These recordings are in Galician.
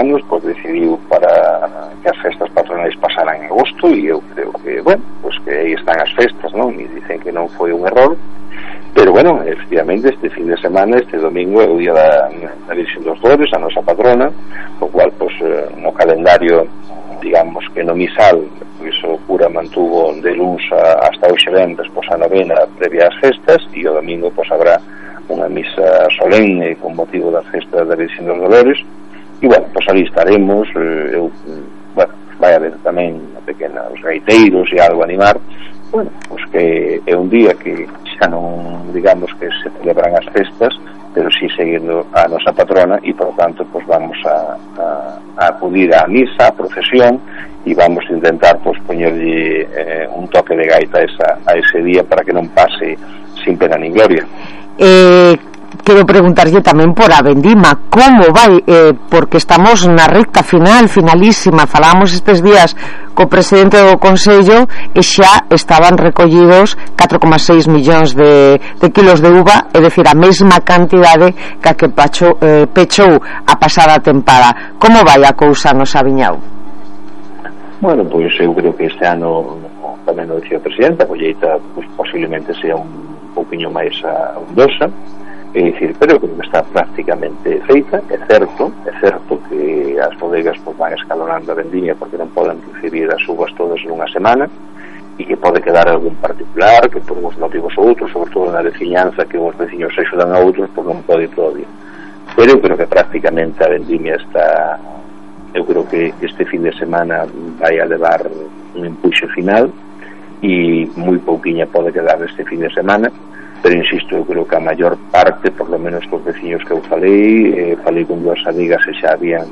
anos, pois decidiu para que as festas patronais pasaran en agosto, e eu creo que, bueno, pois que aí están as festas, non? E dicen que non foi un error, pero, bueno, efectivamente, este fin de semana, este domingo, é o día da Virxen dos Dolores, a nosa patrona, o cual, pois, no calendario, digamos que no misal, pois o cura mantuvo de luns hasta hoxe venres, pois a novena previa ás festas, e o domingo, pois, habrá unha misa solenne con motivo das festas da Virxen dos Dolores. E, bueno, pois ali estaremos, bueno, vai haber tamén unha pequena, os gaiteiros e algo animar, bueno, pois que é un día que xa non, digamos que se celebran as festas, pero sí seguindo a nosa patrona, e, por tanto, pois vamos a acudir á misa, á procesión, e vamos a intentar, pois, poñerlle un toque de gaita a ese día para que non pase sin pena nin gloria. Quero preguntarlle tamén por a vendima, como vai, porque estamos na recta finalísima. Falábamos estes días co presidente do Consello e xa estaban recollidos 4,6 millóns de kilos de uva, é dicir, a mesma cantidade que a que pechou a pasada tempada. Como vai a cousa no Saviñao? Bueno, pois eu creo que este ano, tamén o dicía o presidente, a colleita pois, posiblemente sea un pouquinho máis abundosa, é dicir, pero creo que está prácticamente feita. É certo que as bodegas pois, van escalonando a vendimia porque non poden recibir as uvas todas nunha semana, e que pode quedar algún particular que por uns motivos ou outros, sobre todo na veciñanza, que os veciños se axudan a outros, pois non pode ir todavía. Pero eu creo que prácticamente a vendimia está, eu creo que este fin de semana vai a levar un empuxe final, e moi pouquiña pode quedar este fin de semana. Pero insisto, eu creo que a maior parte, por lo menos cos veciños que eu falei con dúas amigas e xa habían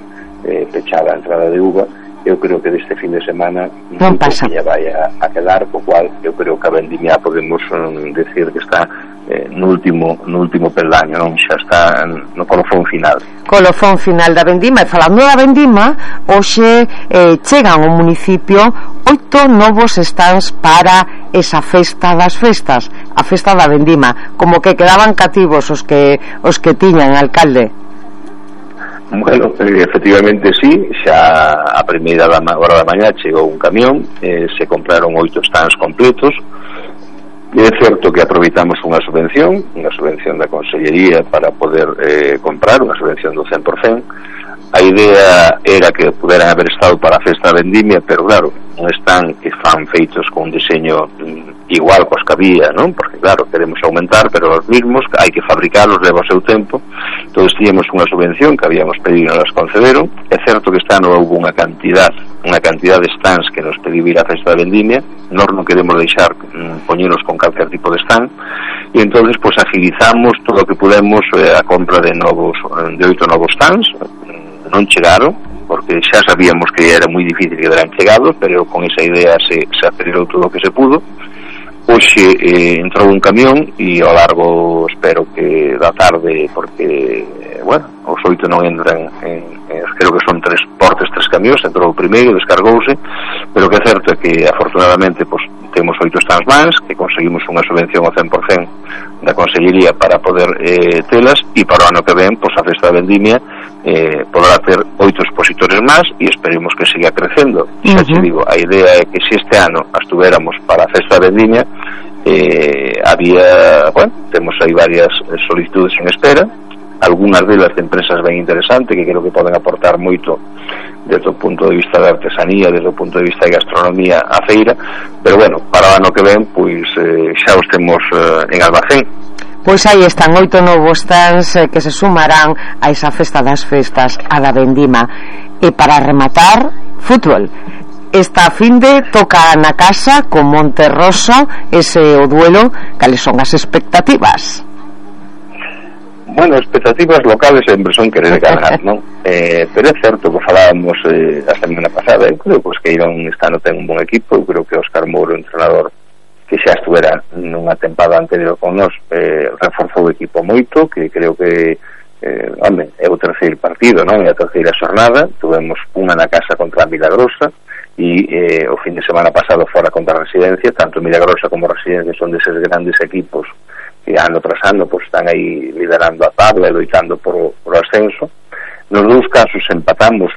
pechado a entrada de uva, eu creo que deste fin de semana non pasa, vai a quedar, co cual eu creo que a vendimia podemos decir que está no último peldaño, non? Xa está no colofón final da vendima. E falando da vendima, hoxe chegan ao municipio 8 novos stands para esa festa das festas, a festa da vendima. Como que quedaban cativos os que tiñan, alcalde? Bueno, efectivamente sí, xa a primeira hora da mañá chegou un camión, se compraron 8 stands completos. É certo que aproveitamos unha subvención da Consellería para poder comprar, unha subvención do 100%. A idea era que puderan haber estado para a festa da vendimia, pero claro, non están que fan feitos con un diseño igual cos que había, non? Porque claro, queremos aumentar, pero os mismos hai que fabricarlos, leva o seu tempo. Entón tiñamos unha subvención que habíamos pedido e nos concederon. É certo que este ano houve unha cantidad de stands que nos pediu ir á festa da vendimia. Nós non queremos deixar poñeros con calquer tipo de stand, e entonces pois agilizamos todo o que pudemos a compra de 8 novos stands. Non chegaron, porque xa sabíamos que era moi difícil que eran chegados, pero con esa idea se acelerou todo o que se pudo. Hoxe entrou un camión, e ao largo, espero que da tarde, porque, bueno, os 8 non entran creo que son 3 camións, entrou o primeiro, descargouse, pero que é certo é que afortunadamente pois, temos 8 stands máis, que conseguimos unha subvención ao 100% da Consellería para poder telas, e para o ano que ven, pois a festa da vendimia poderá ter 8 expositores máis, e esperemos que siga crecendo. Xa te digo, a idea é que se este ano estuveramos para a festa da vendimia, había, bueno, temos aí varias solicitudes en espera, algunhas delas de empresas ben interesantes que creo que poden aportar moito desde o punto de vista da artesanía, desde o punto de vista da gastronomía a feira, pero bueno, para o ano que ven pois xa os temos en almacén. Pois aí están 8 novos stands que se sumarán a esa festa das festas, a da vendima. E para rematar, fútbol. Esta finde toca na casa con Monterroso, ese o duelo. Cales son as expectativas? Bueno, expectativas locales sempre son querer ganar, non? Pero é certo que falábamos a semana pasada, eu creo que Queirón este ano ten un bon equipo, eu creo que Óscar Mouro, entrenador que xa estuvera nunha tempada anterior con nós, reforzou o equipo moito, que creo que é o terceiro partido, non? É a terceira xornada, tuvemos unha na casa contra a Milagrosa, e o fin de semana pasado fora contra a Residencia. Tanto Milagrosa como Residencia son deses grandes equipos que ano tras ano pues, están aí liderando a tabla e loitando por o ascenso. Nos dous casos empatamos